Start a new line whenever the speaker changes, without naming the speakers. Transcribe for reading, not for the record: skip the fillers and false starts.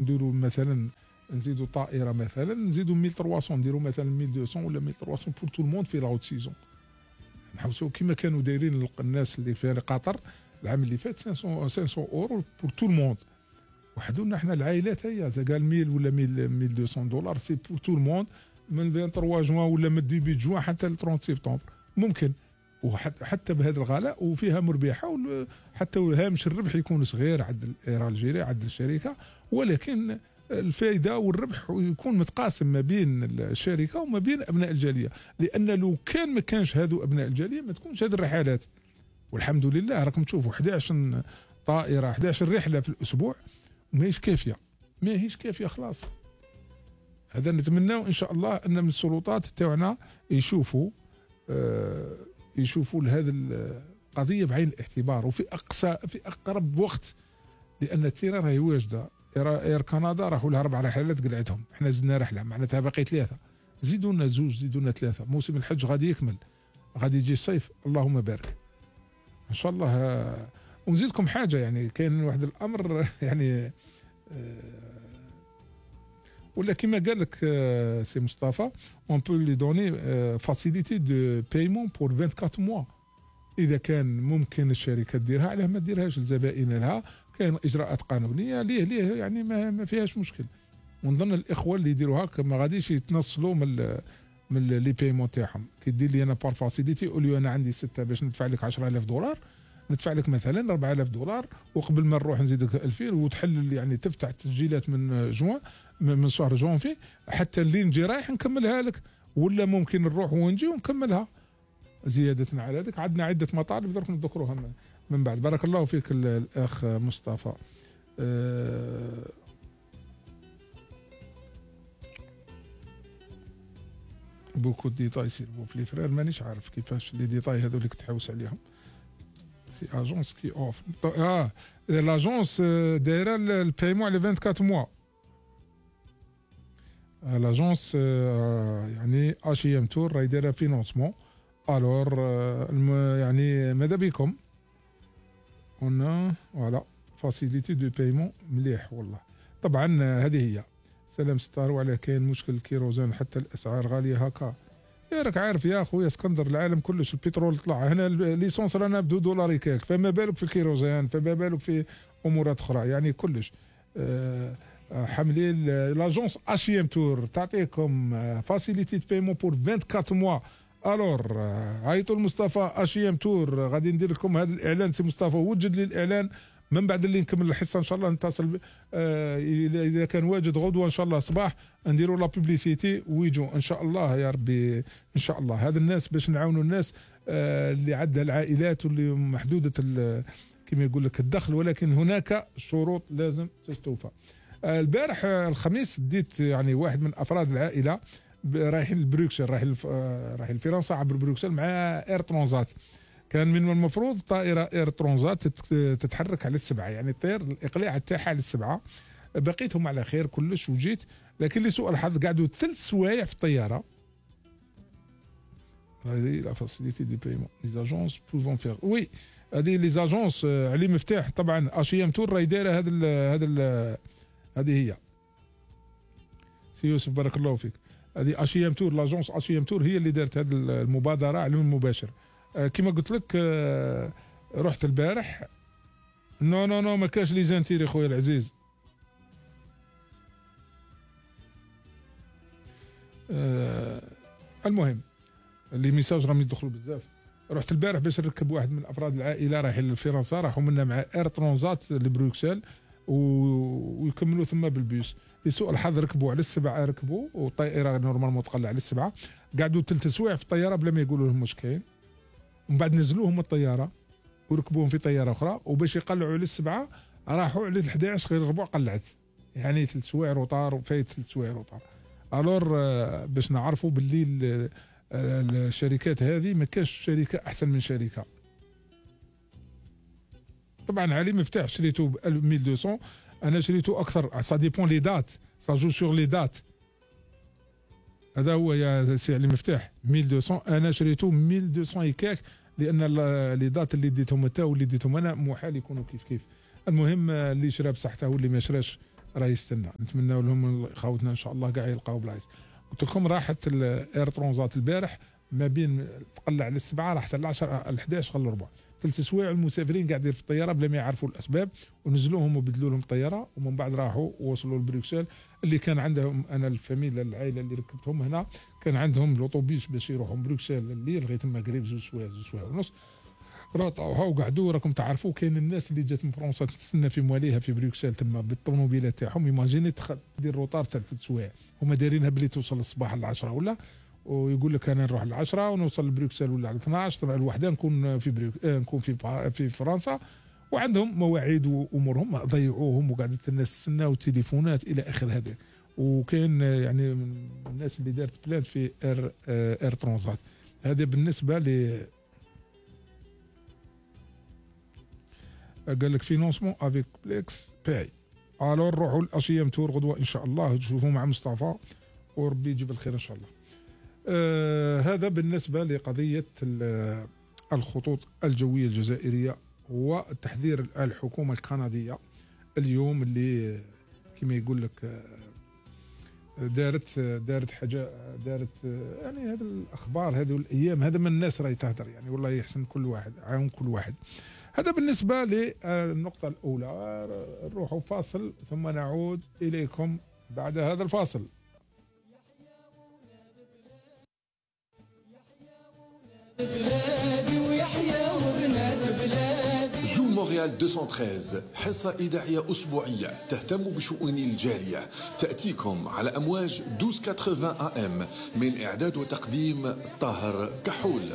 نديروا مثلا نزيدوا طائره مثلا نزيدوا 1300 نديروا مثلا 1200 ولا 1300 بور تو الموند في لاوت سيزون. نحوسوا كيما كانوا دايرين الناس اللي في قطر العام اللي فات 500 اورو بور تو الموند. وحدوا لنا حنا العائلات هي قال 1000 ولا 1200 دولار سي بور تو الموند من 23 جوان ولا من ديبي جوان حتى ل 30 سبتمبر ممكن. وحتى بهذا الغلاء وفيها مربحه حتى هامش الربح يكون صغير عند الجيري عند الشركه، ولكن الفائده والربح يكون متقاسم ما بين الشركه وما بين ابناء الجاليه، لان لو كان ما كانش هذو ابناء الجاليه ما تكونش هذه الرحلات. والحمد لله راكم تشوفوا 11 طائره 11 رحله في الاسبوع ماهيش كافيه خلاص. هذا نتمناه ان شاء الله ان من السلطات تاعنا يشوفوا لهذه القضيه بعين الاعتبار وفي اقرب وقت، لان التيران راهي واجده. اير كندا راحوا لها 4 رحلات قلعتهم، احنا زدنا رحله معناتها باقي 3، زيدوا لنا 2 زيدوا لنا 3. موسم الحج غادي يكمل، غادي يجي الصيف اللهم بارك ان شاء الله. ونزيدكم حاجه يعني كاين واحد الامر يعني ولا كما قال لك سي مصطفى اون بو لي دوني فاسيليتي دو بايمون بور 24 موا. اذا كان ممكن الشركه ديرها علاه ما ديرهاش لزبائن لها، كاين اجراءات قانونيه ليه يعني ما فيهاش مشكل. ونظن الاخوه اللي يديروها ما غاديش يتنصلوا من لي بايمون تاعهم. كي دير لي انا بار فاسيليتي اوليو انا عندي 6 باش ندفع لك 10000 دولار ندفع لك مثلا 4000 دولار، وقبل ما نروح نزيدك 2000 وتحلل يعني تفتح تسجيلات من جوان من شهر جونفي حتى اللي نجي رايح نكملها لك، ولا ممكن نروح ونجي ونكملها. زيادة على ذلك عندنا عدة مطالب درك نذكروها من بعد. بارك الله فيك الأخ مصطفى. بوكو ديتاي سيرفو في لي فرير مانيش عارف كيفاش لي ديتاي هذو اللي كتحوس عليهم. سي اجونس كي اوف لاجونس دايره البايمون على 24 موا. لاجونس يعني اشي ام تور راهي دايره فينونسمون. الور يعني ماذا بكم قلنا فوالا فاسيليتي دو بايمون مليح والله. طبعا هذه هي سلام ستار. وعلى كاين مشكل الكيروزان حتى الاسعار غاليه هكا. يا راك عارف يا خويا اسكندر العالم كلش البترول طلع هنا ليسونس رانا ب2 دولار كاك، فما بالك في الكيروزان، فما بالك في امورات اخرى يعني كلش. حملين لاجونس اشي ام تور تعطيكم فاسيليتي دو بايمون بور 24 موا. الور عيطوا لمصطفى اشي ام تور غادي ندير لكم هذا الاعلان. سي مصطفى وجد لي الاعلان من بعد اللي نكمل الحصه ان شاء الله نتصل اذا كان واجد غدوه ان شاء الله صباح نديروا لا بوبليسيتي ويجوا ان شاء الله يا ربي ان شاء الله. هذا الناس باش نعاونوا الناس اللي عندها العائلات واللي محدوده كما يقول لك الدخل، ولكن هناك شروط لازم تستوفى. البارح الخميس ديت يعني واحد من افراد العائله رايحين لبروكسل، رايحين لفرنسا عبر بروكسل مع اير ترانزات. كان من المفروض طائره اير ترانزات تتحرك على 7، يعني الطير الاقلاع تاعها على 7. بقيتهم على خير كلش وجيت، لكن لسوء الحظ قعدوا 3 سوايع في الطياره. هذه لا فاسيليتي دي بايمون لي اجونس بوفون فيغ وي. هذه لي اجونس علي مفتاح طبعا اشي ام تور راهي دايره هذه هي. سي يوسف بارك الله فيك. هذه اشي ام تور لاجونس اشي ام تور هي اللي دارت هذه المبادره على المباشر. كما قلت لك رحت البارح. نو ما كاش لي زانتيري خويا العزيز. المهم اللي ميساج راهم يدخلوا بزاف. رحت البارح باش نركب واحد من افراد العائله رايحين لفرنسا، راحوا منا مع اير ترانزات لبروكسل ويكملوا ثم بالبيس. لسوء الحظ ركبوا على 7 ركبوا، والطائره نورمالمون تقلع على 7. قعدوا 3 سوايع في الطياره بلا ما يقولوا لهم واش كاين. ومن بعد نزلوهم من الطياره وركبوهم في طياره اخرى، وباش يقلعوا على 7 راحوا على 11 غير الربع قلعت، يعني 3 سوايع روطار وفايت 3 سوايع روطار. الور باش نعرفوا باللي الشركات هذه ما كاش شركه احسن من شركه. طبعا علي مفتاح شريته ب 1200، انا شريته اكثر. سا ديبون لي دات، سا جو سور لي دات. هذا هو يا سي علي مفتاح 1200، انا شريته 1200 يكاك، لان لي دات اللي ديتهم انت واللي ديتهم انا محال يكونوا كيف كيف. المهم اللي شرا بصحته واللي ما شراش راه يستنى. نتمنى لهم خوتنا ان شاء الله كاع يلقاو بلايص. قلت لكم راحت الاير ترونزات البارح ما بين تقلع على 7 راح حتى ل 10 ل 11 غير الربع، 3 سوايع المسافرين قاعدين في الطياره بلا ما يعرفوا الاسباب، ونزلوهم وبدلوا لهم الطياره، ومن بعد راحوا ووصلوا لبروكسل. اللي كان عندهم انا الفاميلا العائله اللي ركبتهم هنا كان عندهم الاوتوبيس باش يروحوا بروكسل الليل لغايه ما قريب 2 سوايع 2 سوايع ونص، راطوها وقعدوا. راكم تعرفوا كاين الناس اللي جات من فرنسا تستنى في مواليها في بروكسل تما بالطوموبيلات تاعهم، ايماجيني دير روطار تاع 3 سوايع، هما دايرينها بلي توصل الصباح ل 10 ولا، ويقول لك انا نروح ل 10 ونوصل لبروكسل ولا على 12 طبعا الوحده نكون في نكون في فرنسا، وعندهم مواعيد وامورهم ضيعوهم وقعدت الناس تستنى وتليفونات الى اخر هذا. وكاين يعني من الناس اللي دارت بلان في اير ترونزات. هذا بالنسبه ل قال لك فينونسمون افيك بليكس باي. الو نروحوا لاشيام تور غدوه ان شاء الله تشوفوا مع مصطفى وربي يجيب الخير ان شاء الله. هذا بالنسبه لقضيه الخطوط الجويه الجزائريه والتحذير الحكومه الكنديه اليوم اللي كما يقول لك دارت حاجه يعني هذه الاخبار هذه الايام هذا من الناس راهي تهدر يعني والله يحسن كل واحد عاون كل واحد. هذا بالنسبه للنقطه الاولى. نروحوا فاصل ثم نعود اليكم بعد هذا الفاصل.
جو مونريال 213 حصة إذاعية أسبوعية تهتم بشؤون الجالية، تأتيكم على أمواج 1280 AM من إعداد وتقديم طاهر كحول.